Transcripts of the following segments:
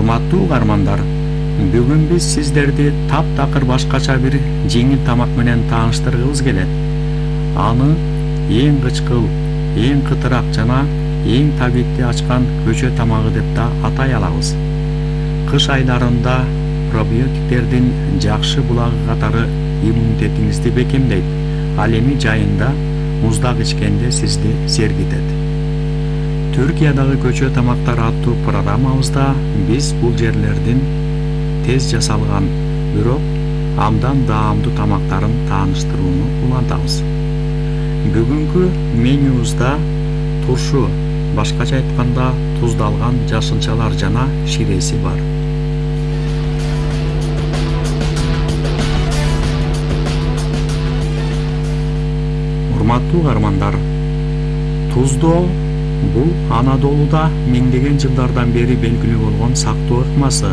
Урматтуу угармандар, бүгүн биз сиздерди таптакыр башкача бир жеңил тамак менен тааныштыргыбыз келет. Аны эң кычкыл, эң кытырак жана эң табитти ачкан көчө тамагы деп да атай алабыз. Кыш айларында пробиотиктердин жакшы булагы катары иммунитетиңизди бекемдейт. Ал эми жайында муздак ичкенде сизди сергитет. Түркиядагы көчө тамактар аттуу программабызда биз бул жерлердин тез жасалган, бирок абдан даамдуу тамактарын тааныштырууну улантабыз. Бүгүнкү менюбузда туршу, башкача айтканда туздалган жашынчалар жана ширеси бар. Урматтуу угармандар, туздоо бул Анадолуда миңдеген жылдардан бери белгилүү болгон сактоо ыкмасы.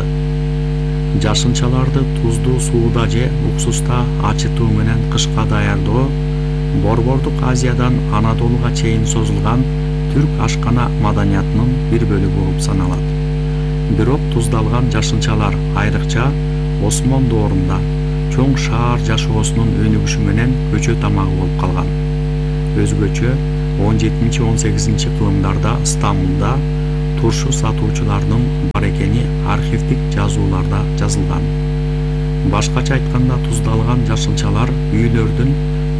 Жашынчаларды туздуу сууда же уксуста ачытуу менен кышка даярдоо Борбордук Азиядан Анадолуга чейин созулган түрк ашкана маданиятынын бир бөлүгү болуп саналат. Бирок туздалган жашынчалар айрыкча Осмон доорунда чоң шаар жашоосунун өнүгүшү менен көчө тамагы болуп калган. Өзгөчө 17-18 кылымдарда Стамбулда туршу сатуучулардын бар экени архивдик жазууларда жазылган. Башкача айтканда туздалган жашынчалар үйлөрдүн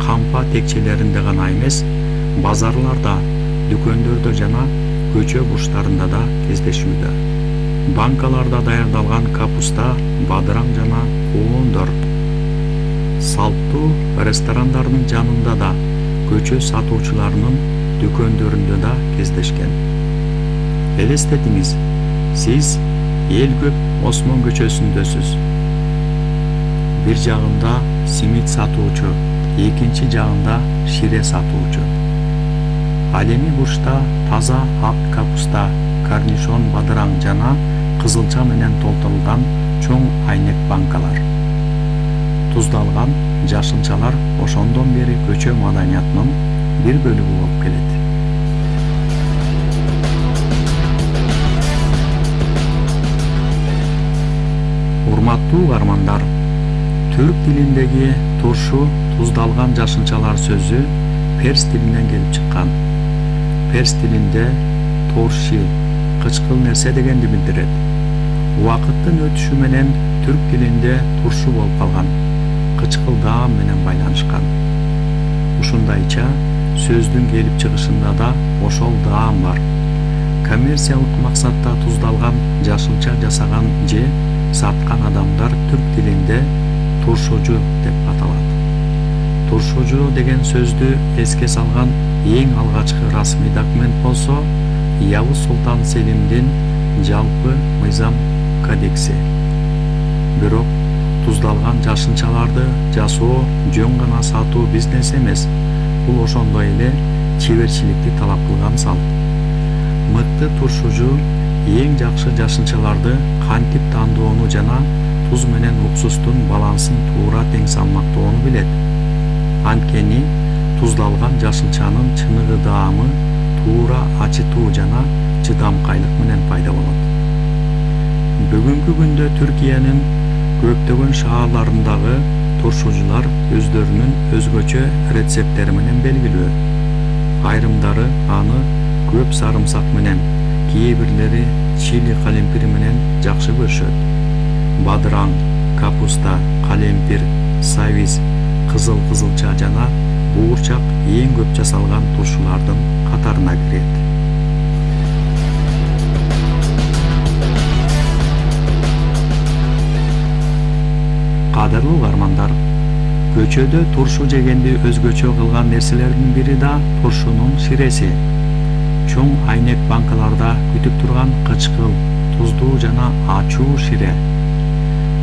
кампа текчелеринде гана эмес, базарларда, дүкөндөрдө жана көчө бурчтарында да кездешүүдө. Банкаларда даярдалган капуста, бадыраң жана коондор салттуу ресторандардын жанында да, көчө сатуучуларынын дүкөндөрүндө да кездешкен. Элестетиңиз, сиз эл көп Осмон көчөсүндөсүз. Бир жагында симит сатуучу, экинчи жагында шире сатуучу. Ал эми бурчта таза ак капуста, корнишон бадыраң жана кызылча менен толтурулган чоң айнек банкалар. Туздалган жашынчалар ошондон бери көчө маданиятынын бир бөлүгү болуп келет. Урматтуу угармандар, түрк тилиндеги туршу туздалган жашынчалар сөзү перс тилинен келип чыккан. Перс тилинде торши кычкыл нерсе дегенди билдирет. Убакыттын өтүшү менен түрк тилинде туршу болуп калган, кычкыл даам менен байланышкан. Ушундайча сөздүн келип чыгышында да ошол даам бар. Коммерциялык максатта туздалган жашынча жасаган же саткан адамдар түрк тилинде туршучу деп аталат. Туршучу деген сөздү эске салган эң алгачкы расмий документ болсо Явыз Султан Селимдин жалпы мыйзам кодекси. Бирок туздалган жашынчаларды жасоо жөн гана сатуу бизнес эмес, бул ошондой эле чеберчиликти талап кылган салт. Мыкты туршучу эң жакшы жашынчаларды кантип тандоону жана туз менен уксустун балансын туура тең салмактоону билет. Анткени туздалган жашынчанын чыныгы даамы туура ачытуу жана чыдамкайлык менен пайда болот. Бүгүнкү күндө Түркиянын көптөгөн шаарларындагы туршучулар өздөрүнүн өзгөчө рецепттери менен белгилүү. Айрымдары аны көп сарымсак менен, кээ бирлери чили калемпир менен жакшы көрүшөт. Бадыраң, капуста, калемпир, савиз, кызыл кызылча жана буурчак эң көп жасалган туршулардын катарына кирет. Кадырлуу угармандар, көчөдө туршу жегенди өзгөчө кылган нерселердин бири да туршунун ширеси. Чоң айнек банкаларда күтүп турган кычкыл, туздуу жана ачуу шире.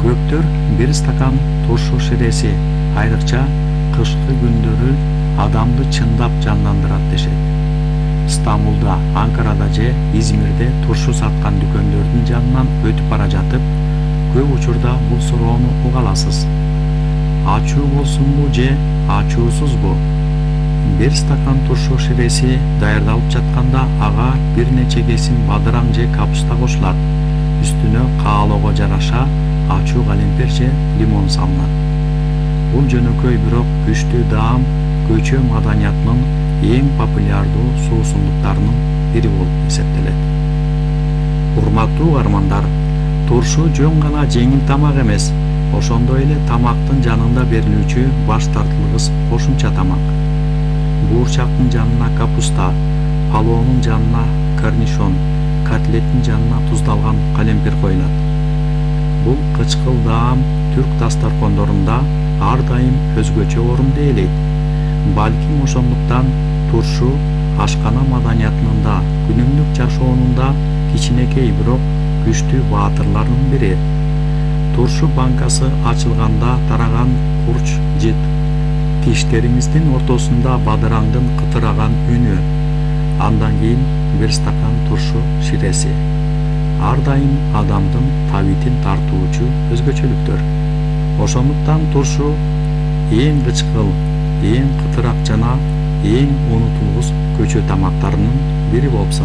Көптөр бир стакан туршу ширеси, айрыкча кышкы күндөрү адамды чындап жандандырат дешет. Стамбулда, Анкарада же Измирде туршу саткан дүкөндөрдүн жанынан өтүп бара жатып, көп учурда бул суроону уга аласыз. Ачуу болсунбу же ачуусузбу? Бир стакан туршу ширеси даярдалып жатканда ага бир нече кесим бадыраң же капуста кошулат. үстүнө каалоого жараша ачуу калемпир же лимон салынат. Бул жөнөкөй бирок күчтүү даам көчө маданиятынын эң популярдуу суусундуктарынын бири болуп эсептелет. Урматтуу угармандар, туршу жөн гана жеңил тамак эмес, ошондой эле тамактын жанында берилүүчү баш тартылгыс кошумча тамак. Буурчактын жанына капуста, палоонун жанына корнишон, котлеттин жанына туздалган калемпир коюлат. Бул кычкыл даам түрк дасторкондорунда ар дайым өзгөчө орун ээлейт. Балким ошондуктан туршу ашкана маданиятынын да күнүмдүк жашоонун да кичинекей бирок күчтүү баатырларынын бири. Туршу банкасы ачылганда тараган курч жит, тиштериңиздин ортосунда бадыраңдын кытыраган үнү, андан кийин бир стакан туршу ширеси. Ар дайым адамдын табитин тартуучу өзгөчөлүктөр. Ошондуктан туршу эң кычкыл, эң кытырак жана эң унутулгус көчө тамактарынын бири болуп саналат.